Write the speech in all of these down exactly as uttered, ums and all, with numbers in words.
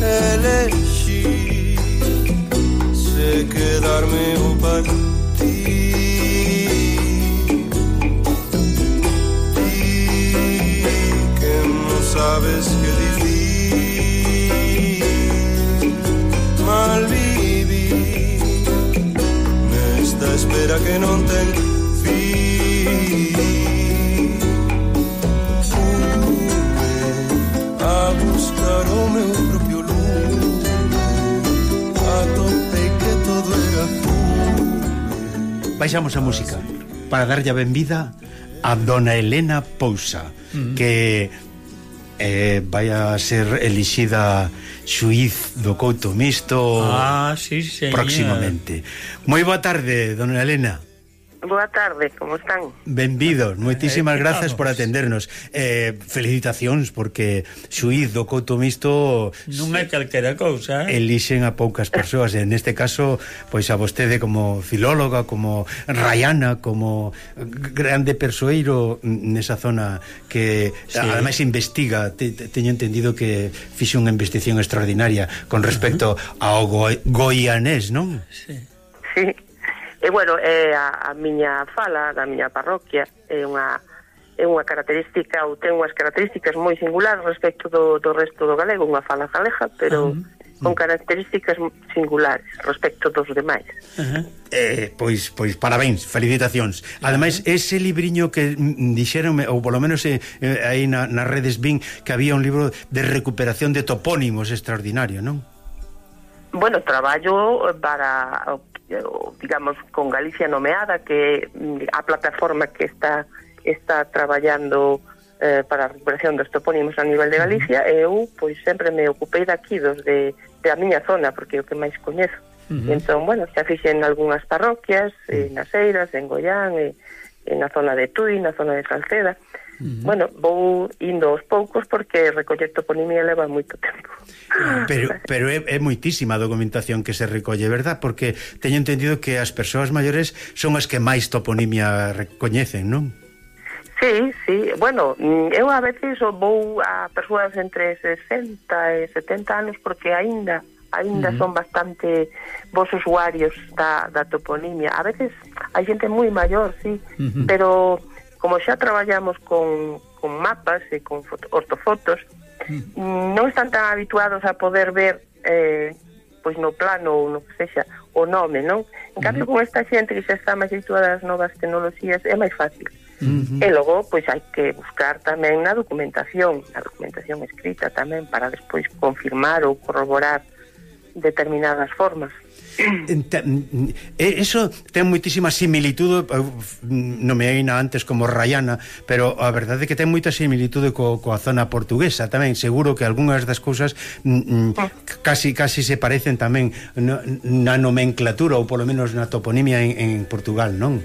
Elexi se quedarme o partir. Ti que non sabes que dicir, mal vivir nesta espera que non ten fin. Fui a buscar o meu propio lume, atopei que todo era fume. Baixamos a música para darlle a benvida a dona Elena Pousa, mm. que eh, vai a ser elixida xuíz do Couto Mixto ah, sí, próximamente. Moi boa tarde, dona Elena. Boa tarde, como están? Benvidos, moitísimas eh, grazas por atendernos. eh, Felicitacións, porque xuíz do Couto Mixto non é calquera cousa, eh? elixen a poucas persoas, e neste caso pois a vostede como filóloga, como raiana, como grande persoeiro nesa zona que sí. ademais investiga. Te, te, teño entendido que fixe unha investigación extraordinaria con respecto uh-huh. ao go, goianés, non? Sí. Sí. E, bueno, é a, a miña fala da miña parroquia é unha, é unha característica, ou ten unhas características moi singulares respecto do, do resto do galego, unha fala galega, pero uh-huh. con características singulares respecto dos demais. Uh-huh. Eh, pois, pois parabéns, felicitacións. Ademais, uh-huh. ese libriño que dixeronme, ou polo menos eh, aí na, nas redes vin que había un libro de recuperación de topónimos extraordinario, non? Bueno, traballo para, digamos, con Galicia Nomeada, que a plataforma que está está traballando eh, para a recuperación dos topónimos a nivel de Galicia, e eu, pois, sempre me ocupei daqui, dos de, de a miña zona, porque é o que máis coñezo. Uh-huh. E entón, bueno, xa fixen algunhas parroquias, uh-huh. nas Eiras, en Goián, e, e na zona de Tui, na zona de Salceda. Uh-huh. Bueno, vou indo aos poucos porque recoller toponimia leva moito tempo. Pero, pero é, é moitísima a documentación que se recolle, verdad? Porque teño entendido que as persoas maiores son as que máis toponimia recoñecen, non? Sí, sí, bueno, eu a veces vou a persoas entre sesenta e setenta anos porque aínda aínda uh-huh. son bastante vos usuarios da, da toponimia. A veces hai xente moi maior, sí, uh-huh. pero como xa traballamos con, con mapas e con foto, ortofotos, mm. non están tan habituados a poder ver eh, pois no plano ou no que sexa o nome, non? En cambio, mm-hmm. con esta xente que xa está máis habituada ás novas tecnoloxías é máis fácil. Mm-hmm. E logo, pois hai que buscar tamén na documentación, na documentación escrita tamén, para despois confirmar ou corroborar determinadas formas. Eso ten moitísima similitude. Nomeeina antes como raiana, pero a verdade é que ten moita similitude co, coa zona portuguesa tamén. Seguro que algunhas das cousas mm, casi casi se parecen tamén na nomenclatura, ou polo menos na toponimia en, en Portugal, non?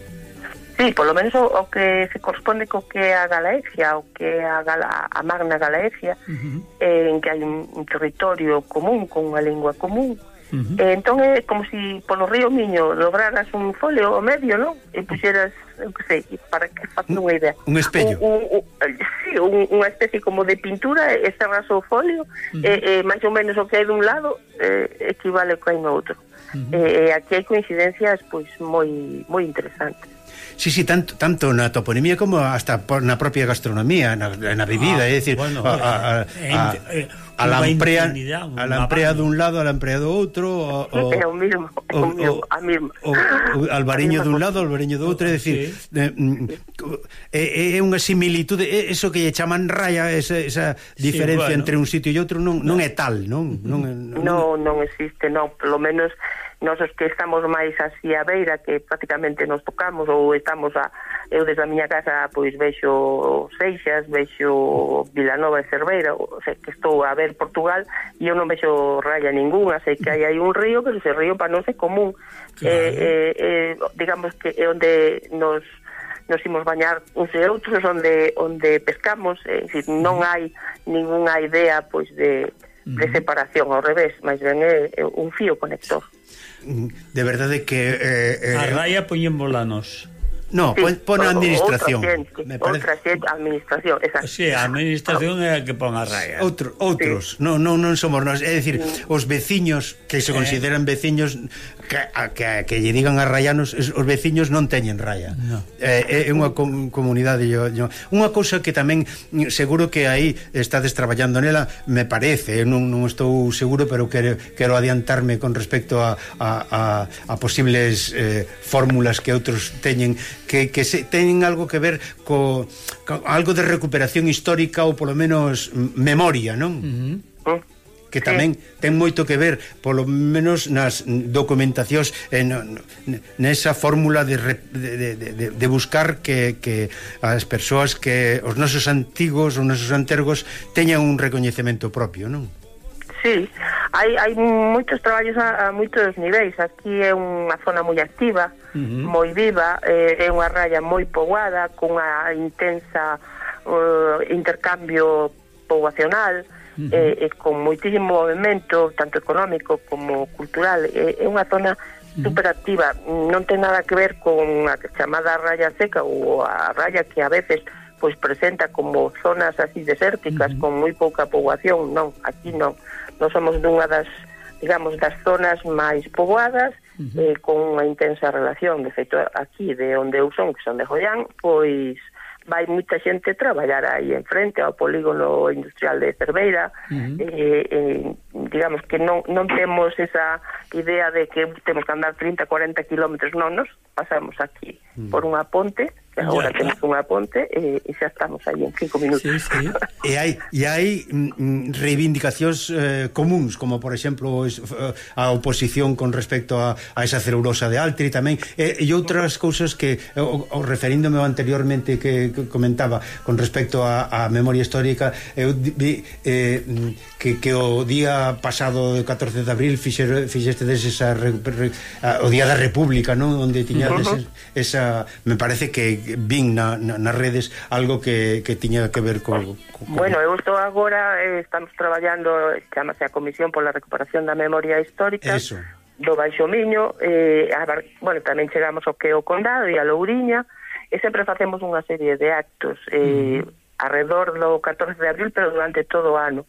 Sí, polo menos o, o que se corresponde co que é a Galaecia, o que é a, Gala, a Magna Galaecia, uh-huh. eh, en que hai un, un territorio común con unha lingua común. Uh-huh. Eh, entón é como se si polo río Miño dobraras un folio ao medio, non? E puxeras, eu que sei, para que faça unha idea, un espello, un, un, un, sí, un, unha especie como de pintura, e cerras o folio, uh-huh. e, e máis ou menos o que hai dun lado eh, equivale co que hai no outro. Uh-huh. E eh, aquí hai coincidencias pois moi moi interesantes. Sí, sí, tanto, tanto na toponimia como hasta na propia gastronomía, na, na bebida, ah, é dicir, bueno, a, a, a, a, a lamprea a lamprea dun lado, a lamprea do outro, o, é o mismo, é o mismo, a misma. O, o albariño dun lado, o albariño do outro, é dicir, sí. é, é unha similitude, é eso que lle chaman raya, esa, esa diferencia sí, bueno. entre un sitio e outro non, non é tal, non? Non, non, non, non existe, non, polo menos nós os que estamos máis así a beira, que prácticamente nos tocamos, ou estamos a, eu desde a miña casa pois vexo Seixas, vexo Vilanova e Cerveira, o sea, que estou a ver Portugal e eu non vexo raya ninguna, sei que hai aí un río, pero ese río para non é común. Claro. eh, eh, eh, digamos que é onde nos nos imos bañar uns e outros, onde onde pescamos, é dicir, non hai ningunha idea pois de, de separación, ao revés, máis ben é, é un fío conector. De verdade que eh, eh, a raya poñen volanos. No, sí, pon a administración. Outra xente, administración, exacto. Sí, a administración é a que pon a raya. Outro, outros, sí. non non non somos nós, é dicir, sí. os veciños que se consideran veciños que a, que, que lle digan a rayanos, os veciños non teñen raya. No. É, é unha com, comunidade yo, yo. Unha cousa que tamén seguro que aí estades traballando nela, me parece, non, non estou seguro, pero quero, quero adiantarme con respecto a, a, a, a posibles eh, fórmulas que outros teñen que, que se, teñen algo que ver co, co algo de recuperación histórica ou polo menos memoria, non? Uh-huh. Que tamén ten moito que ver polo menos nas documentacións en nesa fórmula de, de, de, de buscar que, que as persoas que os nosos antigos, os nosos antergos teñan un recoñecemento propio, non? Sí, hai, hai moitos traballos a, a moitos niveis. Aquí é unha zona moi activa, uh-huh. moi viva, eh, é unha raya moi poboada, con unha intensa uh, intercambio poboacional, uh-huh. eh, eh, con moitísimo movimento, tanto económico como cultural. É, é unha zona uh-huh. superactiva. Non ten nada que ver con a chamada raya seca ou a raya que a veces pois presenta como zonas así desérticas, uh-huh. con moi pouca poboación. Non, aquí non. Nós somos dunha das, digamos, das zonas máis poboadas, uh-huh. eh, con unha intensa relación. De feito, aquí, de onde eu son, que son de Joián, pois vai moita xente traballar aí en frente ao polígono industrial de Cerveira. Uh-huh. eh, eh, digamos que non, non temos esa idea de que temos que andar trinta, cuarenta kilómetros, non, nos pasamos aquí uh-huh. por unha ponte, que agora temos unha ponte e, e xa estamos aí en cinco minutos. Sí, sí. E hai, e hai mm, reivindicacións eh, comuns, como por exemplo a oposición con respecto a, a esa celulosa de Altri tamén, e, e outras cousas que o, o referíndome anteriormente que, que comentaba con respecto a, a memoria histórica, eu vi eh, que, que o día pasado de catorce de abril fixer, fixeste esa re, re, a, o día da República, non? Onde tiñades uh-huh. esa, me parece que vin na, na, nas redes algo que, que tiña que ver co, co, co... Bueno, eu estou agora, eh, estamos traballando, chamase a Comisión pola Recuperación da Memoria Histórica. Eso. Do Baixo Miño, eh, a, bueno, tamén chegamos ao que o Condado e a Louriña, e sempre facemos unha serie de actos eh, uh-huh. alrededor do catorce de abril, pero durante todo o ano.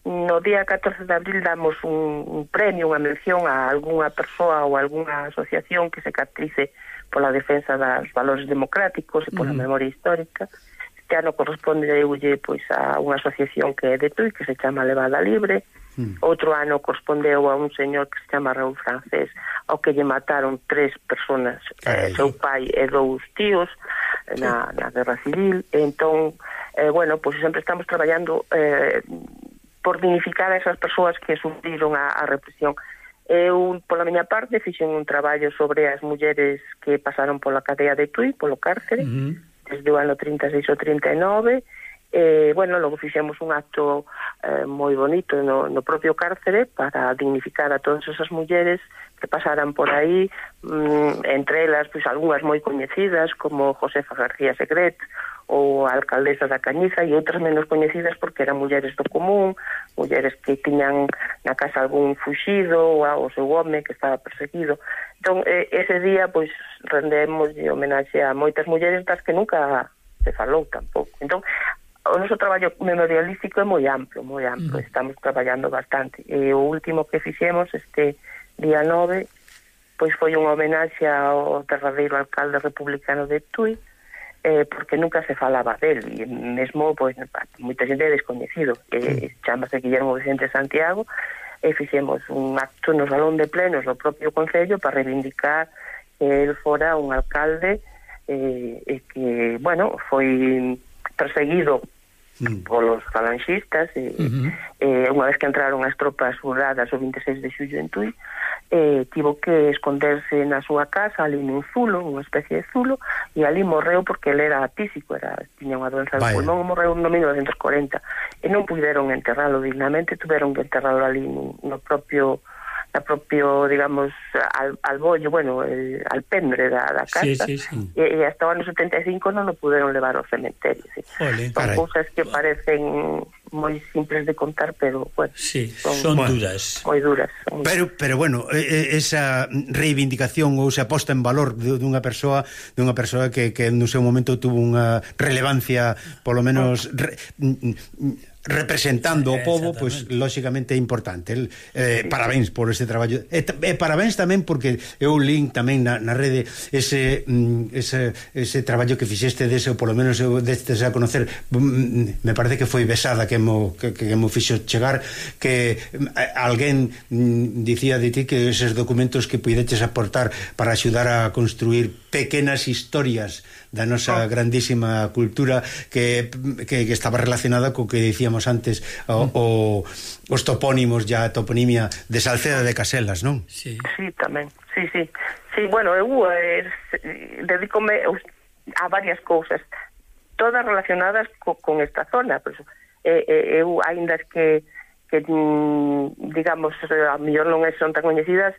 No día catorce de abril damos un, un premio, unha mención a algunha persoa ou algunha asociación que se caracterice pola defensa dos valores democráticos e pola uh-huh. memoria histórica. Este ano corresponde eulle pois a unha asociación que é de Tui, que se chama Levada Libre. Uh-huh. Outro ano correspondeu a un señor que se chama Raúl Francés, ao que lle mataron tres personas, eh, seu pai e dous tíos na, na Guerra Civil. E entón, eh, bueno, pois sempre estamos traballando eh, por dignificar a esas persoas que sufriron a, a represión. Eu, pola miña parte, fixen un traballo sobre as mulleres que pasaron pola cadea de Tui, polo cárcere, uh-huh. desde o ano trinta e seis ao trinta e nove. E, bueno, logo fixemos un acto eh, moi bonito no, no propio cárcere para dignificar a todas esas mulleres que pasaran por aí, mm, entre elas, pois, algunhas moi coñecidas, como Josefa García Segret, ou a alcaldesa da Cañiza, e outras menos coñecidas porque eran mulleres do común, mulleres que tiñan na casa algún fuxido ou o seu home que estaba perseguido. Entón, eh, ese día, pois, rendemos de homenaxe a moitas mulleres das que nunca se falou tampouco. Entón, o noso traballo memorialístico é moi amplo, moi amplo, mm. estamos traballando bastante. E o último que fixemos este día nove, pois foi unha homenaxe ao derradeiro alcalde republicano de Tui, eh, porque nunca se falaba del, e mesmo, pois, moita xente é descoñecido, eh, chamase Guillermo Vicente Santiago, e fixemos un acto no Salón de Plenos do propio Concello para reivindicar que el fora un alcalde eh, e que, bueno, foi perseguido mm. polos falanxistas e, uh-huh. eh, unha vez que entraron as tropas urradas o vinte e seis de xullo en Tui, eh, tivo que esconderse na súa casa ali nun zulo, unha especie de zulo, e ali morreu porque ele era atísico, era, tiña unha doenza do pulmón, morreu no mil novecentos corenta e non puderon enterralo dignamente, tuveron que enterralo ali no, no propio na propio, digamos, al, al bollo, bueno, el, al pendre da, da casa, sí, sí, sí. E, e hasta o ano setenta e cinco non o puderon levar ao cementerio, sí. Olé, son cousas que parecen moi simples de contar, pero bueno, sí, son, son bueno, duras. Moi duras. Son pero pero bueno, esa reivindicación ou esa posta en valor dunha persoa, dunha persoa que que no seu momento tuvo unha relevancia, polo menos re, representando o povo, pois pues, lógicamente é importante. El, eh, parabéns por ese traballo. E, e parabéns tamén porque eu link tamén na, na rede ese, ese ese traballo que fixeste dese, ou polo menos eu destes a conocer, me parece que foi Besada que mo, que, que mo fixo chegar, que alguén dicía de ti que eses documentos que puideches aportar para axudar a construir pequenas historias da nosa oh. grandísima cultura que, que, que estaba relacionada co que dicíamos antes, o, o, os topónimos, ya a toponimia de Salceda de Caselas, non? Sí, sí tamén, sí, sí. Sí, bueno, eu eh, dedícome a varias cousas, todas relacionadas co, con esta zona, pero eh, eh, eu, ainda que, que digamos, a mellor non son tan coñecidas,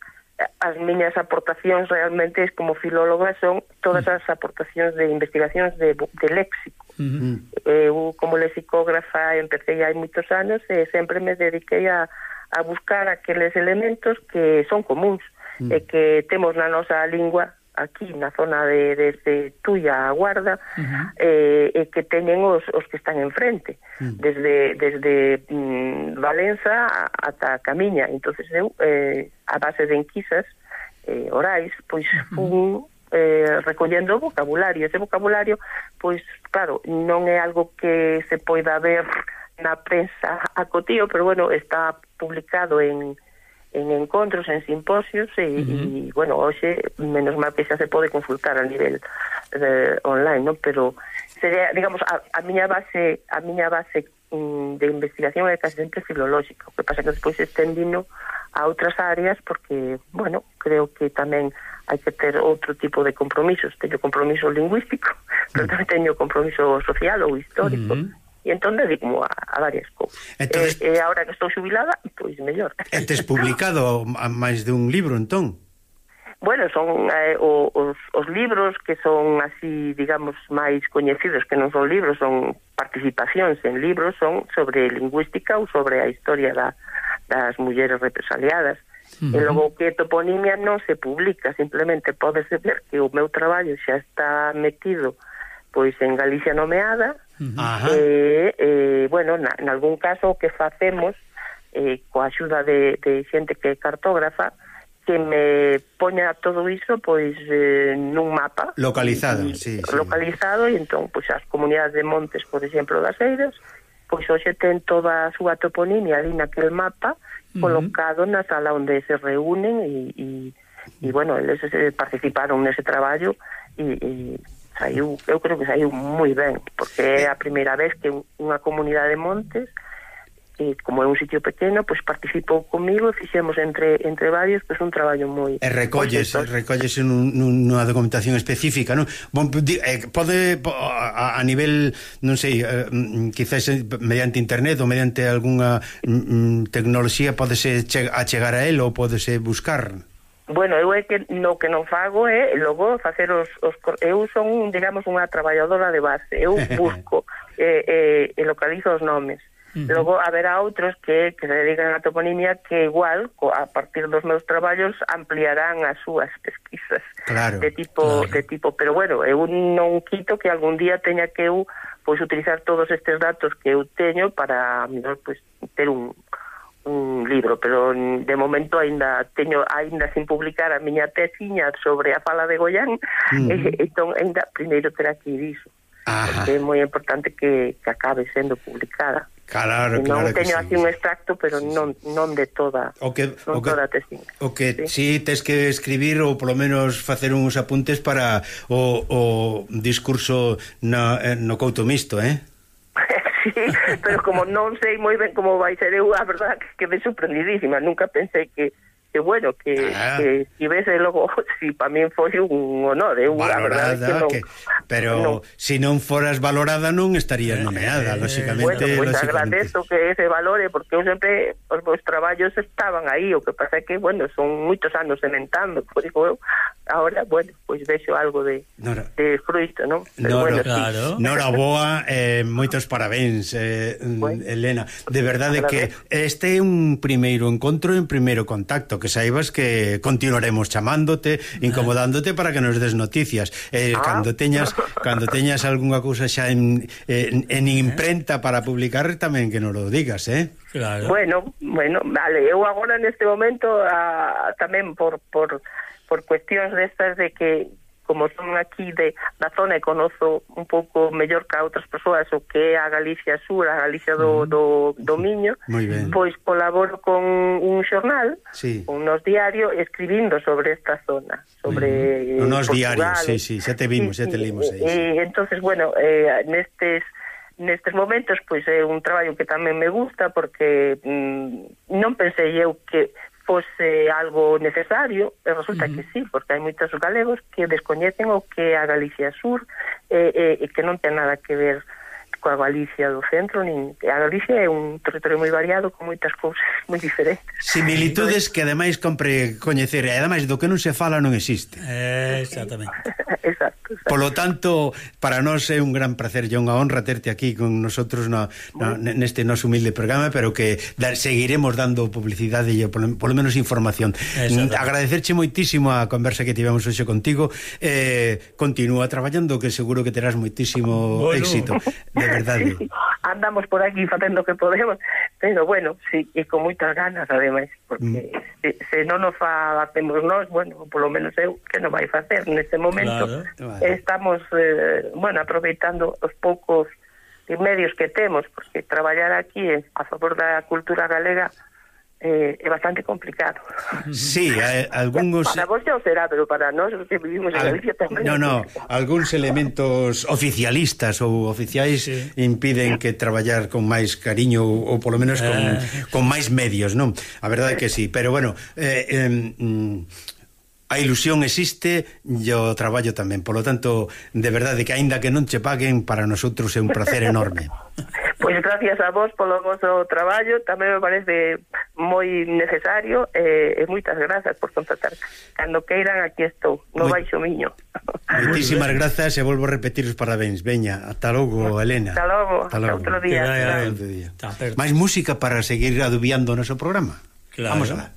as miñas aportacións realmente como filóloga son todas as aportacións de investigacións de, de léxico. Uh-huh. Eu como lexicógrafa empecé hai moitos anos e sempre me dediquei a, a buscar aqueles elementos que son comuns uh-huh. e que temos na nosa lingua aquí na zona de desde Tuia a Guarda uh-huh. eh, e que teñen os, os que están enfrente uh-huh. desde desde mm, Valenza ata Camiña. Entonces eu eh, a base de enquisas eh, orais pois fun eh, recollendo vocabulario. Ese vocabulario pois claro, non é algo que se poida ver na prensa a cotío, pero bueno, está publicado en en encontros, en simposios e, uh-huh. e bueno, hoxe menos mal que xa se pode consultar a nivel eh, online, ¿no? Pero sería, digamos, a, a miña base a miña base um, de investigación é casi sempre filolóxica. O que pasa que despois estendino a outras áreas porque, bueno, creo que tamén hai que ter outro tipo de compromisos. Teño compromiso lingüístico, uh-huh. pero tamén teño compromiso social ou histórico. Uh-huh. E entón dedico a, a varias cousas. Entonces, e, e agora que estou xubilada, pois mellor. E tes publicado a máis de un libro, entón? Bueno, son eh, o, os, os libros que son así, digamos, máis coñecidos, que non son libros, son participacións en libros, son sobre lingüística ou sobre a historia da, das mulleres represaliadas. Uh-huh. E logo que toponimia non se publica, simplemente pódese ver que o meu traballo xa está metido pois en Galicia Nomeada. Uh-huh. e, e, bueno, na, en algún caso o que facemos eh, coa axuda de, de xente que é cartógrafa que me poña todo iso pois eh, nun mapa localizado, y, sí, localizado sí. E entón pois as comunidades de montes, por exemplo, das Eiras, pois hoxe ten toda a súa toponimia ali naquel mapa uh-huh. colocado na sala onde se reúnen e, e, e bueno, eles participaron nese traballo e, e saiu, eu creo que saiu moi ben, porque é a primeira vez que unha comunidade de montes, que como é un sitio pequeno, pois participou comigo e fixemos entre entre varios pois un traballo moi... E recolles, recolles nunha documentación específica, non? Bon, eh, pode a, a nivel, non sei, eh, quizás mediante internet ou mediante algunha mm, tecnoloxía podese achegar a él ou podese buscar... Bueno, eu é que no que non fago é logo facer os, os eu son, digamos, unha traballadora de base. Eu busco e eh, eh, localizo os nomes. Uh-huh. Logo haberá outros que, que se dedican a toponimia que igual, a partir dos meus traballos, ampliarán as súas pesquisas. Claro, de tipo claro. de tipo, pero bueno, eu non quito que algún día teña que eu pois utilizar todos estes datos que eu teño para, mellor, pois ter un un libro, pero de momento aínda teño aínda sin publicar a miña tesiña sobre a fala de Goián. Uh-huh. e, entón aínda primeiro terá que ir iso. Ajá. Porque é moi importante que, que acabe sendo publicada. Claro, e non claro teño que así sí. un extracto, pero sí, non non de toda o que, non o que, toda a tesiña. O que sí. si tes que escribir ou polo menos facer uns apuntes para o, o discurso no, no couto mixto, eh? Sí, pero como non sei moi ben como vai ser, eu a verdad que quedei sorprendidísima, nunca pensei que que bueno, que, ah. que si vese logo, si para mí foi un honor, eu a verdade que non, que, pero non. Si non foras valorada non estarías nomeada, eh, lóxicamente. Bueno, pois pues lóxicamente. agradezo que ese valore, porque eu sempre os meus traballos estaban aí, o que pasa é que, bueno, son moitos anos sementando, por iso eu ahora, bueno, pois pues vexo algo de, Nora. de fruito, non? Pero Nora, bueno, claro. sí. Nora boa, eh, moitos parabéns, eh, bueno, Elena. De verdade que este é un primeiro encontro, un primeiro contacto, que saibas que continuaremos chamándote, incomodándote para que nos des noticias. Eh, ah. Cando teñas cando teñas algunha cousa xa en, en, en imprenta para publicar, tamén que nos lo digas, eh? Claro. Bueno, bueno, vale, eu agora neste momento a, tamén por por por cuestións destas de que como son aquí de da zona e conozo un pouco mellor que a outras persoas o que é a Galicia Sur, a Galicia do, do, do Miño, pois colaboro con un xornal, sí. un nos diario, escribindo sobre esta zona, sobre uh -huh. Nos diarios, sí, sí, xa te vimos, xa te limos aí. E entonces, bueno, eh, nestes nestes momentos, pois é un traballo que tamén me gusta porque mm, non pensei eu que fose algo necesario, e resulta uh -huh. que sí, porque hai moitos galegos que descoñecen o que é a Galicia Sur e, e, e que non ten nada que ver coa Galicia do centro, nin a Galicia é un territorio moi variado con moitas cousas moi diferentes. Similitudes que ademais compre coñecer, e ademais do que non se fala non existe. Eh, exactamente. Exacto, exacto. Polo tanto, para nós é un gran placer e unha honra terte aquí con nosotros no, no, neste noso humilde programa, pero que da, seguiremos dando publicidade e polo, polo menos información. Agradecerche moitísimo a conversa que tivemos hoxe contigo. Eh, continúa traballando, que seguro que terás moitísimo bueno. éxito. De verdade. Sí, andamos por aquí facendo o que podemos, pero bueno, sí, e con moitas ganas ademais, porque mm. se, se non nos facemos nós, bueno, polo menos eu que non vai facer neste momento. Claro. Estamos eh, bueno, aproveitando os poucos medios que temos, porque traballar aquí a favor da cultura galega eh, é bastante complicado. Sí, eh, algúns... Para vos xa o será, pero para nós que vivimos en Galicia tamén. No, no, algúns elementos oficialistas ou oficiais sí. impiden que traballar con máis cariño ou, ou polo menos con, eh. con máis medios, non? A verdade é que sí, pero bueno, eh, eh, a ilusión existe e o traballo tamén. Por lo tanto, de verdade que aínda que non che paguen, para nosotros é un placer enorme. Pois gracias a vos polo vosso traballo, tamén me parece moi necesario e, e moitas grazas por contactar. Cando queiran, aquí estou, no Moi... baixo miño. Moitísimas grazas e volvo a repetir os parabéns. Veña, ata logo, Elena. Ata logo, ata outro día. día. Máis música para seguir adubiando o noso programa. Claro. Vamos alá.